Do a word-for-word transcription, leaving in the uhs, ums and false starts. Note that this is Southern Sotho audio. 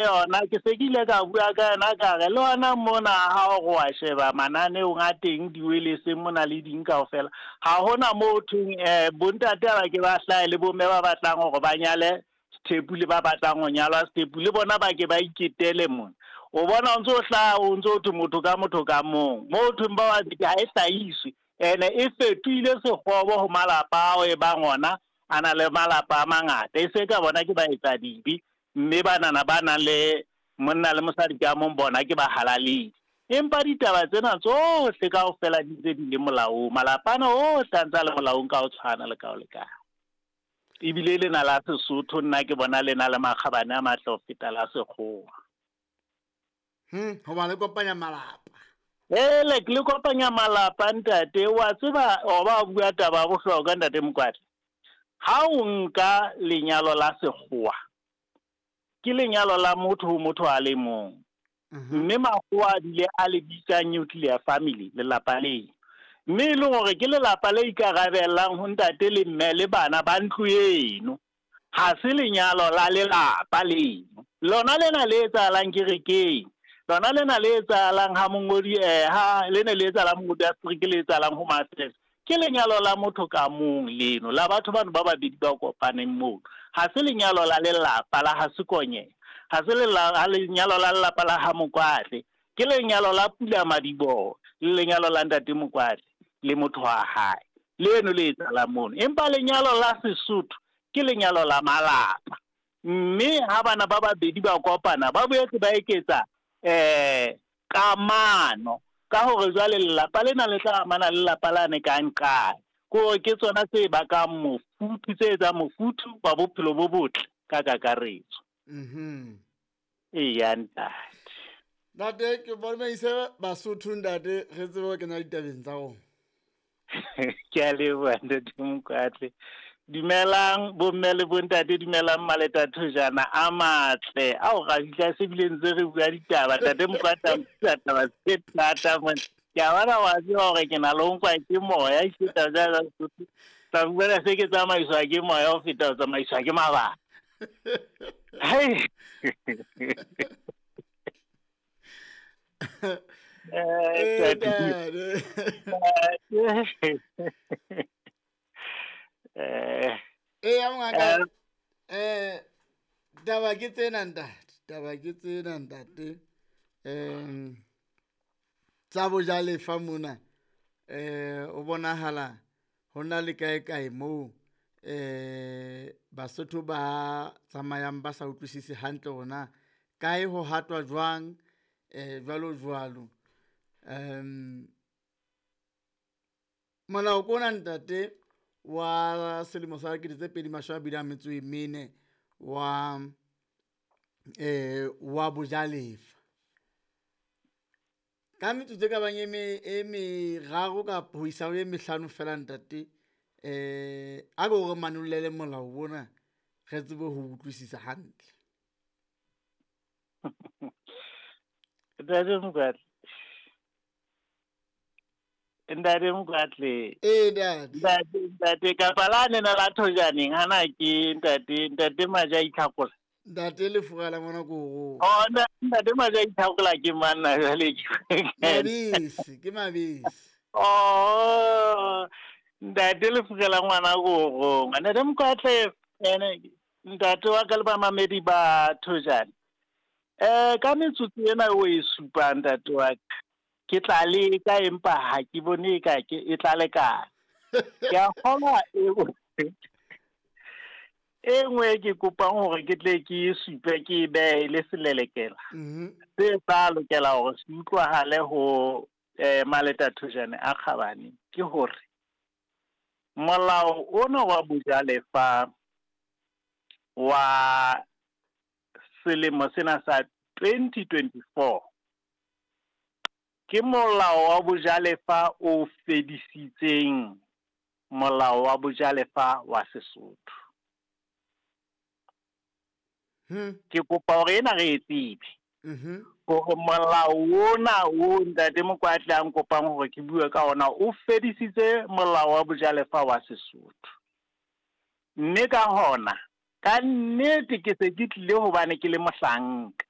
Yona ke se ke ile ka bua ka yona, ka re le hona mona ha o re wa sheba mananeong a teng, diweleseng mona le ding kaofela, ha hona moo thweng um bontate ba ke ba hlahe le bomme ba batlang hore ba nyale sethepu le ba batlang ho nyalwa sethepu, le bona ba ke ba iketele mona. O bona o ntso o hlaha, o ntso o thwe motho ka motho ka mong, moo thweng ba babedi ha e hlahiswe. Ene e fetohile sekgobo ho malapa ao e bang ona a na le malapa a mangata, e se ka bona ke baetsadibe, mme banana ba nang le monna le mosadi ka mong bona ke bahalaledi. Empa ditaba tsena tsohle kaofela di ntse di le molaong, malapa ana ohle a ntse a le molaong ka ho tshwana le ka ho lekana. Ebile lena la Sesotho nna ke bona le na le makgabane a matle ho feta la sekgowa. Hmm, hoba le kopanya malapa. Ele le kopanya malapa ntate, wa tseba o ba bua taba ya bohlokwa ntate Mokwatla. Ha o nka lenyalo la sekgowa, ke lenyalo la motho ho motho a le mong. Mme makgowa a bile a le bitsa nuclear family, lelapa leo. Mme e leng hore ke lelapa le ikarabellang ho ntate le mme le bana ba ntlo eno. Ha se lenyalo la lelapa leno. Lona lena le etsahalang kerekeng, lona lena le etsahalang ha mongodi eh ha lene le etsahalang mongodi a Afrika, le etsahalang ho Mafresa, ke lenyalo la motho ka mong leno, la batho bano ba babedi ba kopaneng moo. Ha se lenyalo la lelapa la ha Sekonyeha, ha se lenyalo la lelapa la ha Mokwatle, ke lenyalo la Pula Madiboho le lenyalo la ntate Mokwatle le motho wa hae, leno le etsahalang mono. Empa lenyalo la Sesotho ke lenyalo la malapa, mme ha bana ba babedi ba kopana ba boetse ba eketsa eh kamano, ka hore jwale lelapa lena le tla amana le lelapa lane ka nqane. Ko ke tsona tse bakang mofuthu, tse etsang mofuthu wa bophelo bo botle ka kakaretso. Mhm. Eya ntate. Ntate, ke bomaise Basotho ntate, re tsebe ho kena ditabeng tsa rona. Ke a leboha ntate Mokwatle. Dumelang bomme le bontate, dumelang maleta thojana a matle ao ra fihla se bile ntse re bua ditaba. Ntate Mokwatle a mpitsa taba tse thata mona. Ke a bona wa tseba hore ke na le ho nkwa ke moya, ke taba tsa Sesotho. Tla fumana se ke tsamaiswa ke moya ho feta ho tsamaiswa ke mabaka. Hei. Eh, ntate. Eh. Eya mongaka. Eh, taba ke tsena ntate, taba ke tsena ntate. Eh, tsa bojalefa mona, eh o bonahala hona le kae kae moo eh Basotho ba tsamayang ba sa utlwisise hantle hore na kae ho hatwa jwang, eh jwalo jwalo. Um molao kona ntate wa selemo sa dikete tse pedi mashome a mabedi a metso e mene wa eh wa bojalefa. Ka metsotso e ka bang e me e meraro kapa ho isa ho e mehlano fela ntate, eh a ko re manollele molao ona re tsebe ho utlwisisa hantle. Ntate Mokwatle, Ntate Mokwatle. Eh ntate. Ntate, ntate kapa la nena la thojaneng hana ke ntate, ntate Maja Itlhakola. Ntate Lefura la ngwana koro. Oh, ntate Maja Itlhakola ke manna jwale ke. Mabese, ke mabese. Oh, ntate Lefura la ngwana koro. Ntate Mokwatle ene ntate wa ka le bamamedi ba thojane. Eh ka metsotso ena o e supang ntate wa ka, ke tla leka empa ha ke bone ka ke e tla lekana. Ke a kgolwa e e nngwe ke kopang hore ke tle ke e supe ke e behe le selelekela. Mhm. Se tla lokela hore se utlwahale ho eh maleta thojane a kgabane ke hore molao ona wa bojalefa wa selemo sena sa twenty twenty-four ke molao wa bojalefa o fedisitseng molao wa bojalefa wa Sesotho. Hmm. Ke kopa hore ena re e tsebe. Mhm. Hore molao ona o ntate Mokwatle a nkopang hore ke bue ka ona o fedisitse molao wa bojalefa wa Sesotho. Mme ka hona Ka nnete ke se ke tlile hobane ke le mohlanka.